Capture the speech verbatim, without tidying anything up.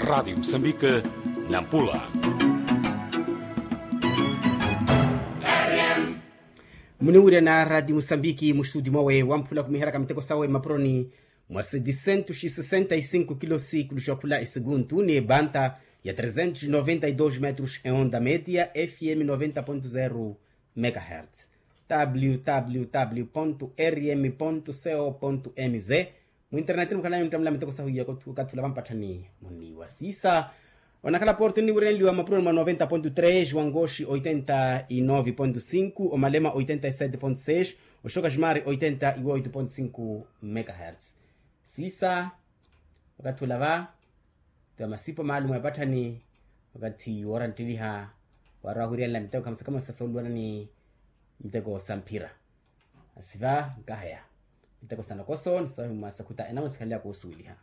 Radi musambike, nampula. Muniwirya na radi musambiki mustudi mwawe wamphula kumiheraka miteko sawe mapuroni mwa sedisentus sesenta y sinku kilosi kuluxa khula eseguntu ni ebanta ya tresentus noventa y dos metros eonda media fm noventa pontu zero megahertz. Www rm co mz. Mu internet mukhalani muttamula miteko sahu iya okathi ulava mpatthani muniwa sisa. Onakhala porto nniwirenliwa mapuroni mwa noventa pontu tres wangoxi oitenta y nove pontu sinku omalema oitenta y sete pontu seis oxoka ximari oitenta y oito pontu sinku megahertz. Sisa okathi ulava tiwa masipo maalumu epatthani okathi woora nttiliha. Waarowa wiriyanela miteko khamusa khamusa sooluwana ni miteko sa mphira. Asiva nkahaya miteko sa nokoso ni swahi mwa sakhuta enamwe sikhanlyaka osuweliha.